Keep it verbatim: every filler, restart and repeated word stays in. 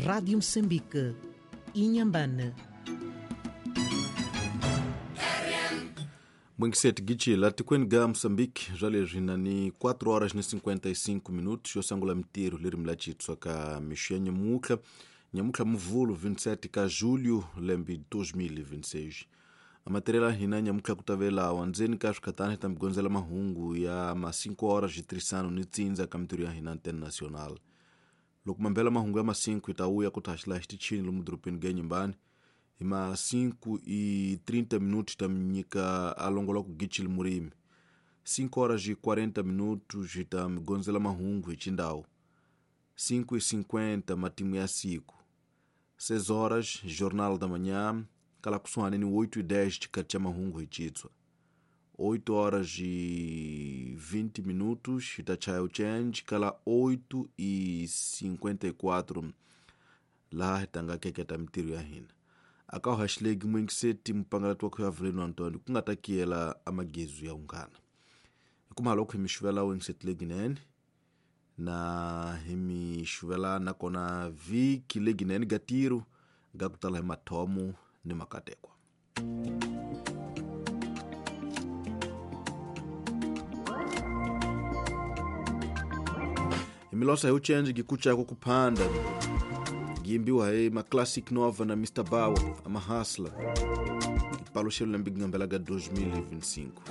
Rádio Moçambique, Inhambane. Mwengiseti gichila tikweni ga Moçambique zwa leswi na ni quatro horas ni cinquenta e cinco minutos yo sangula mitiro leri la chitswa ka mixo ya nyamutlha nyamutlha muvulu vinte e sete ka julho lembe dois mil e vinte e seis. A material hina nyamutlha ku tavela wandzeni ka swikhatani ta migondzela mahungu ya ma cinco horas de trisano ni tsindza ka mitiro ya hina internacional. Loko mambela mahungu ya ma cinco ita uya ku taxila xitichini lomu dorobeni ga Inhambane. Hi ma cinco e trinta minutos ta nyika alongola ku gichili murimi. cinco horas e quarenta minutos ta migondzela mahungu hi xindhawu. cinco e cinquenta matimu ya siku. seis horas jornal da manhã kala kusuhani ni oito e dez tikati ya mahungu hi chitswa. oito horas e vinte minutos ta chaya change kala oito e cinquenta e quatro laha hi tanga keketa mitiro ya hina. Aka haxilegi mwengiseti mupangala wa Avelino Antônio ku nga ta kiyela amagezu ya unghana. Hikuma loko hi mi xuvela wengiseti leginene na hi mi xuvela nakona vhiki leginene gatiro ga ku tala hi mathomo ni makatekwa. Hi mi losa hi uchenji gikuchako kuphanda gimbiwa hi ma Classic Nova na mister Bawa ama Hustler. Ipalo xelo lembe gingambela ga dois mil e vinte e cinco.